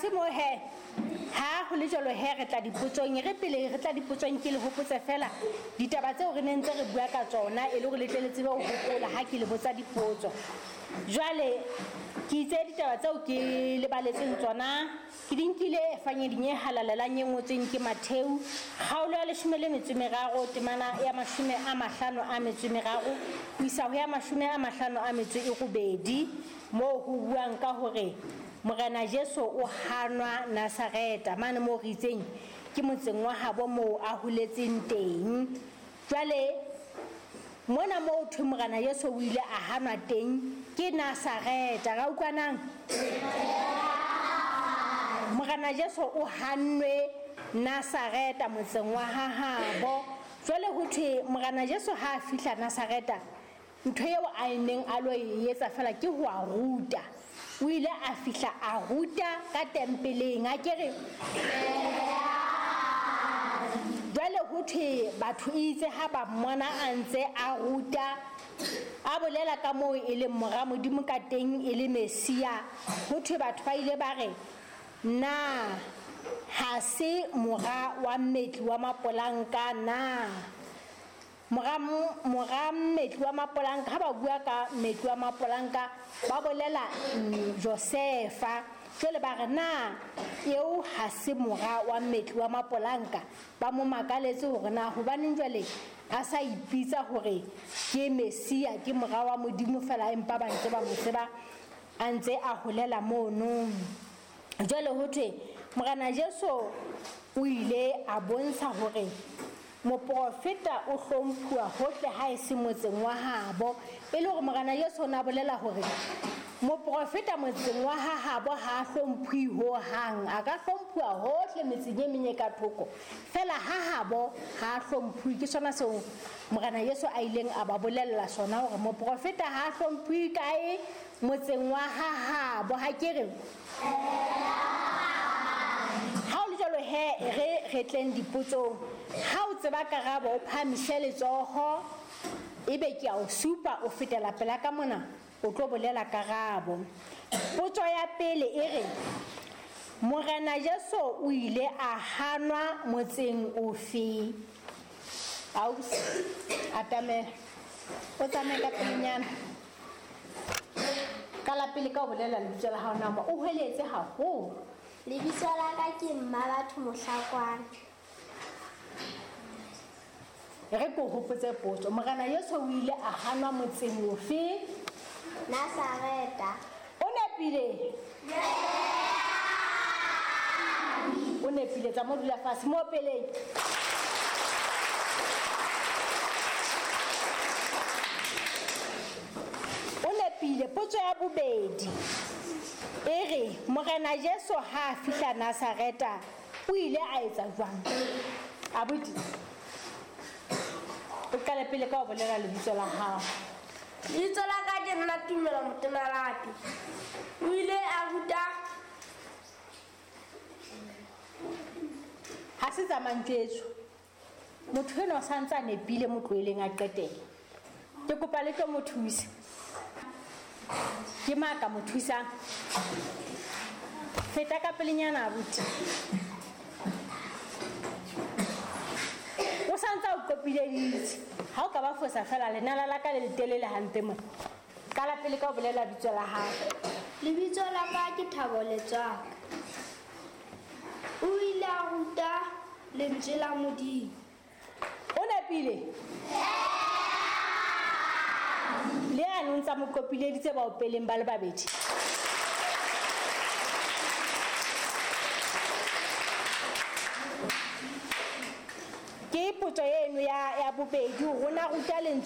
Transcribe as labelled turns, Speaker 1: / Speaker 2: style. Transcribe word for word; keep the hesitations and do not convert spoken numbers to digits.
Speaker 1: Se mo he ha ho le jwalo he re tla dipotsong, re pele re tla dipotsong ke le hopotse fela ditaba tseo re neng ntse re bua ka tsona e le hore le tle le tsebe ho hopola ha ke le botsa dipotso. Jwale ke itse ditaba tseo ke le baletseng tsona ke di nkile efangeding e halalelang e ngotsweng ke Matheu kgaolo ya leshome le metso e meraro temana ya mashome a mahlano a metso e meraro ho isa ho ya mashome a mahlano a metso e robedi, moo ho buang ka hore Morena Jesu o hanwa Nazareta mane moo re itseng ke motseng wa habo moo a holetseng teng. Jwale mona moo thwe Morena Jesu o ile a hanwa teng ke Nazareta. Ra utlwanang? Morena Jesu o hannwe Nazareta motseng wa hahabo. Jwale ho thwe Morena Jesu ha a fihla Nazareta, ntho eo a neng a lo e etsa fela ke ho a ruta. O ile a fihla a ruta ka tempeleng, a ke re jwale ho thwe batho itse ha ba mmona a ntse a ruta a bolela ka moo e leng mora Modimo ka teng e le Mesia, ho thwe batho ba ile ba re na ha se mora wa mmetli wa mapolanka na? Mora mora mmetli wa mapolanka, ha ba bua ka mmetli wa mapolanka ba bolela Josefa. Jwale ba re na eo ha se mora wa mmetli wa mapolanka? Ba mo makaletse hore na hobaneng jwale a sa ipitsa hore ke Mesia, ke mora wa Modimo fela, empa ba ntse ba mo tseba a ntse a holela mono. Jwale ho thwe Morena Jesu o ile a bontsha hore moprofeta o hlomphuwa hohle ha e se motseng wa habo, e le hore Morena Jesu o na bolela hore moprofeta motseng wa habo ha hlomphuwe ho hang, a ka hlomphuwa hohle metseng e meng e ka thoko, fela ha habo ha hlomphuwe. Ke sona seo Morena Jesu a ileng a ba bolella sona hore moprofeta ha hlomphuwe kae? Motseng wa habo. Ha ke re ha o le jwalo he re re tleng dipotsong. Ha o tseba karabo o phahamise letsoho, ebe ke a o supa o fetela pela ka mona o tlo bolela karabo. Potso ya pele e re Morena Jesu o ile a hanwa motseng ofe? Ausi atamela o tsamaye ka pelenyana. Ka la pele ka o bolela lebitso la hao nama o hweletse haholo.
Speaker 2: Lebitso la ka ke Mmabatho Mohlakwana.
Speaker 1: Re ko hopotse potso. Morena Jesu o ile a hanwa motseng ofe?
Speaker 2: Nazareta.
Speaker 1: O nepile? O nepile, tsa mo dula fatshe mo peleng. O nepile. Potso ya bobedi e re Morena Jesu ha a fihla Nazareta o ile a etsa jwang? Abuti o qale pele ka ho bolela lebitso la hao.
Speaker 2: Lebitso la ka ke nna Tumelo Motenalapi. O ile a ruta
Speaker 1: ha se tsa mantswetso. Motho enwa o sa ntse a nepile, mo tlohelleng a qetele. Ke kopa le tlo mo thusa. Ke mang ka mo thusang? Feta ka pelenyana abuti. O sa ntse a o qopileditse. Ha o ka ba fosa fela lenala la ka le letelele hampe mona. Qala pele ka ho bolela lebitso la hao.
Speaker 2: Lebitso la ka ke Thabo Letswaka. O ile a ruta lentswe la Modimo.
Speaker 1: O nepile? Le a no ntsa mo qopileditse ba o peleng ba le babedi. Ke potso eno ya ya bobedi, rona ruta lentswe